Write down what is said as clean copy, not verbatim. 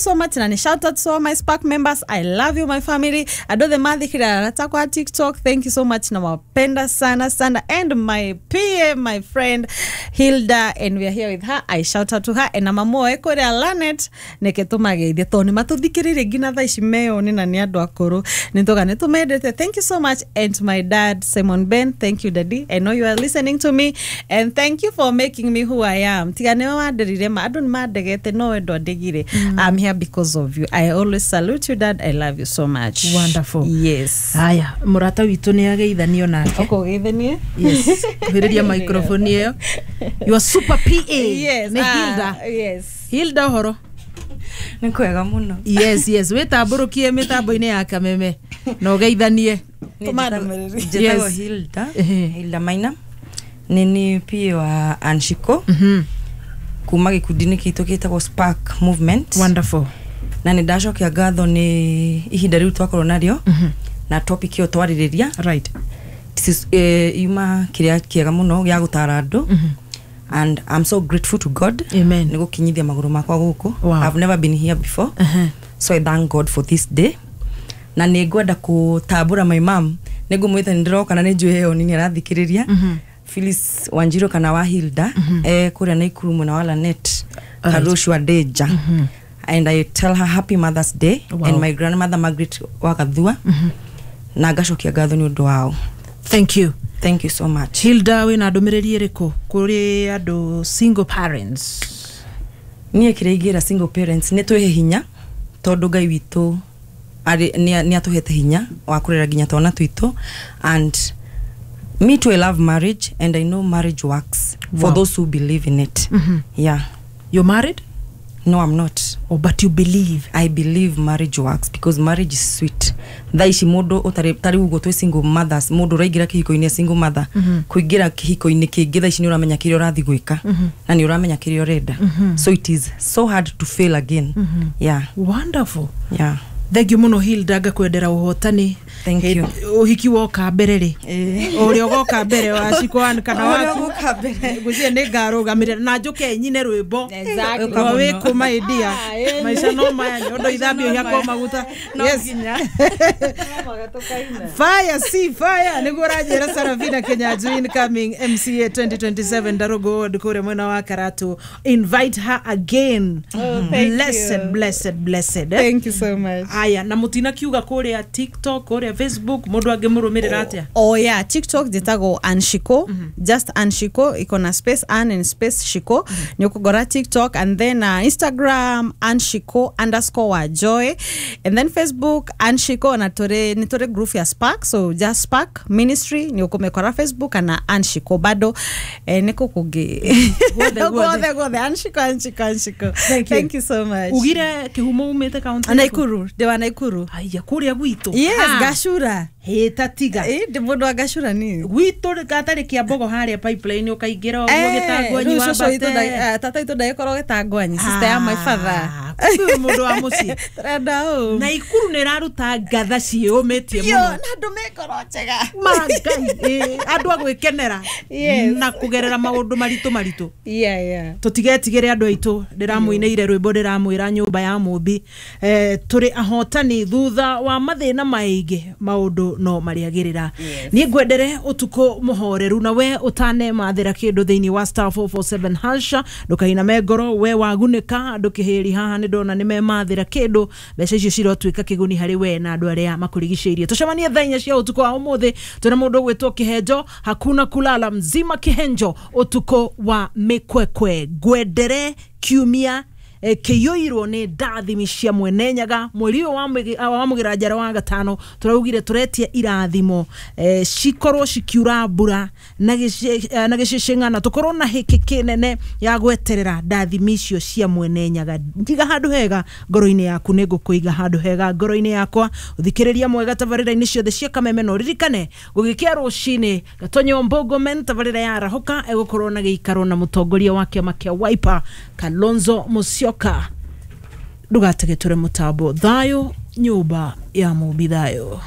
So much na ni shout out to all my Spark members. I love you, my family. Andå othe mathikĩrĩra arata kwa TikTok, thank you so much, nawapenda sana sana. And my PA, my friend Hilda, and we are here with her. I shout out to her and na mamu kũrĩa Lanet nĩke tũmageithie tondũ nĩ matũthikĩrĩirie nginya thaa ici meyone na nĩ andũ akũrũ nĩ tũga nĩ tũmendete. Thank you so much. And to my dad Simon Ben, thank you, daddy. I know you are listening to me and thank you for making me who I am. Tiga nĩwe wanderire ma andũ nĩ mandegete no we ndwandegire. I'm here because of you. I always salute you, dad. I love you so much. Wonderful. Yes. Haya, mũrata witũ nĩ ageithanio nake. Ũkũgeithanie. Yes, kuhĩrĩria microphone ĩyo. Your super PA. Yes. Nĩ Hilda. Yes. Hilda, ũhoro? Nĩ kwega mũno. Yes, wĩtambũrũkie mĩtambo-inĩ ya Kameme na ũgeithanie. Njĩtagwo Hilda. Hilda Maina, nĩ ni PA wa Anshiko kuma gĩkundi-inĩ gitũ gĩtagwo Spark Movement. Wonderful. Na nĩ ndacokia ngatho nĩ ihinda rĩu twakorwo narĩo na topic ĩyo twarĩrĩria. Yuma kĩrĩa kĩega mũno gĩa gũtara andũ and I'm so grateful to God. Amen. Nĩ gũkinyithia magũrũ makwa gũkũ. Wow. I've never been here before, so I thank God for this day. Na nĩ ngwenda kũtambũra my mom, nĩ ngũmwĩta nĩ ndĩroka na nĩ njũĩ ĩyo nĩ arathikĩrĩria. Phyllis Wanjiru kana wa Hilda, kũrĩa Naikuru mwena wa Lanet, Karushwa Deja, and I tell her happy Mother's Day. And my grandmother Margaret wa Gathua, na ngacokia ngatho nĩ ũndũ wao. Thank you. Thank you so much. Hilda, wĩna ndũmĩrĩri ĩrĩkũ kũrĩ andũ single parents? Niĩ kĩrĩa ingĩra single parents nĩ twĩhe hinya tondũ Ngai witũ nĩ atũhete hinya wa kũrera nginya twana twitũ. And me too, I love marriage and I know marriage works for those who believe in it. Yeah. You're married? No, I'm not. Oh, but you believe? I believe marriage works because marriage is sweet. Thaa ici mũndũ ũtarĩ tarĩu ũguo twĩ single mothers, mũndũ ũraingĩra kĩhiko-inĩ single mother, kũingĩra kĩhiko-inĩ kĩngĩ thaa ici nĩ ũramenya kĩrĩa ũrathiĩ gwĩka na nĩ ũramenya kĩrĩa ũrenda, so it is so hard to fail again. Yeah. Wonderful. Yeah. Thank you mũno, Hilda, ngakwendera ũhotani. Thank you. Ũhiki woka mbere rĩ, ũrĩa ũgoka mbere wa Shikwan kana Ũrĩa waku ũgũka mbere. Ngwĩciria nĩ ngarũgamĩrĩra na njũke nyine rwĩmbo rwa wĩkũ my dear. Maica no maya, nyondo ithambio ihakwo maguta. Yes, fire si fire nĩguo ũranjĩra. Sarafina Kenyanjui, incoming MCA 2027 Ndarugu Ward kũrĩa mwena wa Karatu. Invite her again. Oh, thank Blessed, you. blessed, blessed, eh? Thank you so much. Aya, na mũtina kiuga kũrĩa TikTok, kũrĩa Facebook, mũndũ angĩmũrũmĩrĩra atĩa? Oh yeah, TikTok njĩtagwo Anshiko, just Anshiko, iko na space an and space shiko. Nĩ ũkũgora TikTok and then Instagram Anshiko_wajoy and then Facebook Anshiko, na tũrĩ nĩ tũrĩ group ya Spark, so just Spark Ministry nĩ ũkũmĩkora Facebook kana Anshiko bado, nĩ kũ kũngĩ. Guothe, guothe. Guothe guothe Anshiko, Anshiko, Anshiko. Thank you. Thank you so much. Ugire kĩhumo umĩte kaunti? Naikuru, ndĩ wa Naikuru. Aya, kũrĩa gwitũ. Yes. Ah, Gacura. Hĩta tiga. Ndĩ mũndũ wa Gacura niĩ. Gwitũ gatarĩ kĩa mbogo harĩa pipeline ũkaingĩra ũguo gĩtangwanyi. Rĩu cũcũ witũ wambate. tata witũ ndagĩkorwo gĩtangwanyi, sister ya my father. Ah, kumbe wĩ mũndũ wa mũciĩ. Tũrenda ũ Naikuru nĩ ĩraruta ngatha ciĩũmĩtie Yo, mũno. na andũ me ngoro njega. Ma Ngai, andũ a gwĩkenera na kũgerera maũndũ maritũ maritũ. Tũtigetigĩre andũ aitũ, ndĩramũinĩire rwĩmbo ndĩramwĩra nyũmba ya mũmbi, tũrĩ ahotani thutha wa mathĩna maingĩ, maũndũ no marĩagĩrĩra. Niĩ ngwendere ũtukũ mũhoreru, na we ũtanemathĩra kĩndũ thĩinĩ wa *447# ndũkainame ngoro, we wagunĩka ndũkĩhĩri haha nĩ ndona nĩ memathĩra kĩndũ, mbeca icio cirotuĩka kĩguni harĩ we na andũ arĩa makũrigicĩirie. Tũcemanie thaa 4 cia ũtukũ wa ũmũthĩ, twĩna mũndũ ũgwĩtwo Kĩhenjo, hakuna kulala mzima Kĩhenjo, ũtukũ wa mĩkwekwe. Ngwendere kiumia kĩiyũirwo nĩ ndathimi cia Mwene Nyaga. Mweri ũyũ wa mũgĩra njara wa gatano tũraugire tũretia irathimo, cikorwo cikiura mbura na gĩcĩcĩng'ana, tũkorwo na hĩkĩ kĩnene ya gweterera ndathimi icio cia Mwene Nyaga. Njiga handũ hega ngoro-inĩ yaku, nĩ ngũkũiga handũ hega ngoro-inĩ yakwa. Ũthikĩrĩria mwega tabarĩra-inĩ ciothe cia Kameme, na ũririkane gũgĩkĩa rũcinĩ Gatonyo Mbogomen tabarĩra ya Arahũka egũkorwo na gĩikaro na mũtongoria wa kĩama kĩa Wiper Kalonzo Musyoka. Ndũgatege tũre mũtambo. Thayũ, nyũmba ya mũmbi, thayũ.